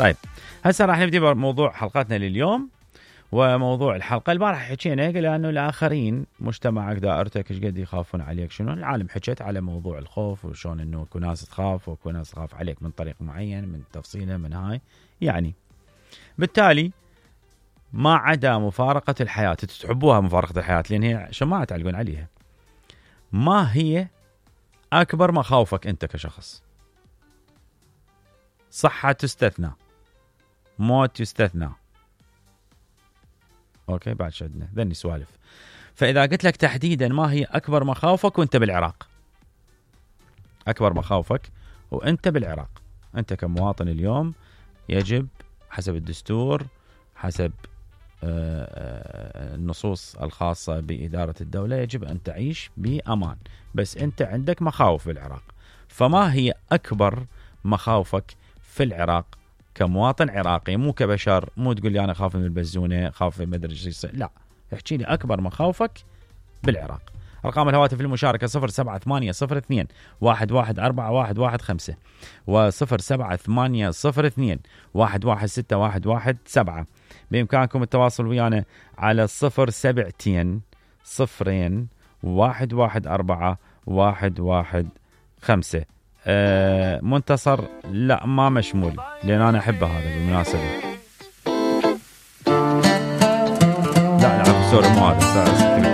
طيب هسه راح نبدي بموضوع حلقتنا لليوم. وموضوع الحلقة البارحة حكينا لأنه الآخرين مجتمعك دائرتك ايش قد يخافون عليك، شنو العالم حكيت على موضوع الخوف وشون انه اكو ناس تخاف واكو ناس تخاف عليك من طريق معين، من تفصيله، من هاي يعني. بالتالي ما عدا مفارقة الحياة، تحبوها مفارقة الحياة لأن هي شماعة تعلقون عليها. ما هي أكبر مخاوفك أنت كشخص؟ صحة تستثنى، موت يستثنى، أوكي بعد شدنا ذني سوالف. فإذا قلت لك تحديدا ما هي أكبر مخاوفك وأنت بالعراق، أكبر مخاوفك وأنت بالعراق، أنت كمواطن اليوم يجب حسب الدستور، حسب النصوص الخاصة بإدارة الدولة، يجب أن تعيش بأمان، بس أنت عندك مخاوف بالعراق. فما هي أكبر مخاوفك في العراق كمواطن عراقي، مو كبشر، مو تقول لي أنا خاف من البزونة، خاف من مدري شو، لا، احكي لي أكبر مخاوفك بالعراق. أرقام الهواتف المشاركة 07802 114115 و07802 116117. بإمكانكم التواصل ويانا على 072 0 114 115. منتصر لا ما مشمول لأن أنا أحبه هذا بالمناسبة. لا سوري مو هذا